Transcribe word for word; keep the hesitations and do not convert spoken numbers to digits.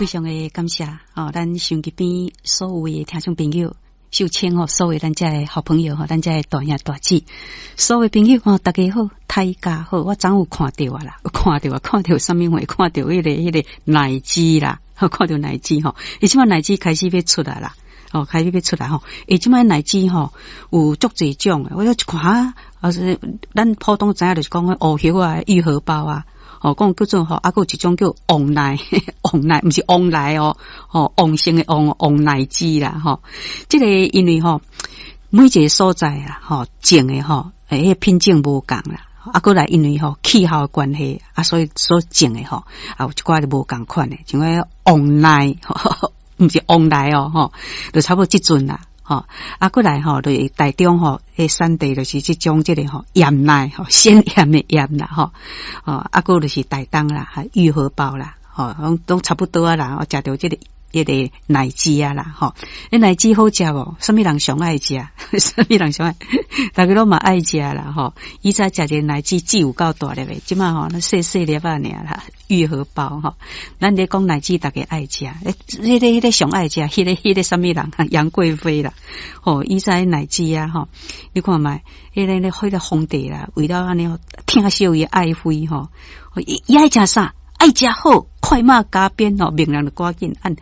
非常的感謝哦，咱收音機邊所有的聽眾朋友，秀清吼，所有咱遮的好朋友吼，咱遮的大兄大姊，所有朋友吼，大家好，大家好，我昨有看著啊啦，有看著啊，看著啥物貨？看著彼個彼個奶雞啦，看著奶雞吼，伊這擺奶雞開始欲出來啦，哦，開始欲出來吼，伊這擺奶雞吼有足濟種，我一看啊，是咱普通知影就是講烏葉啊、玉荷包啊。哦，講叫做吼，啊，閣有一種叫旺奶，旺奶毋是旺來哦，吼，旺盛的旺，旺奶雞啦，吼。這個因為吼，每一個所在啊，吼，種的吼，欸，彼個品種無仝啦，啊，閣來因為吼氣候的關係，啊，所以所種的吼，啊，有一寡就無仝款的，像彼旺奶，毋是旺來哦，吼，就差不多這陣啦。吼，啊，閣來吼，就是台中吼，彼產地就是這種這個吼艷奶吼，鮮豔的豔啦，吼，哦，啊，閣就是台東啦，玉荷包啦，吼，攏都差不多啊啦，我食著這個彼個奶雞啊啦，吼，彼奶雞好食無？啥物人上愛食？啥物人上愛？逐家攏嘛愛食啦，吼。以前食一个奶雞只有夠大粒的，這擺吼，那細細粒仔爾啦，玉荷包吼。咱咧講奶雞，逐家愛食，欸，彼個彼個上愛食，彼個彼個啥物人？楊貴妃啦，吼，以前奶雞啊，吼，你看覓，彼個咧彼個皇帝啦，為了按呢疼惜伊愛妃吼，伊伊愛食啥？愛食好，快馬加鞭吼，命人就趕緊按。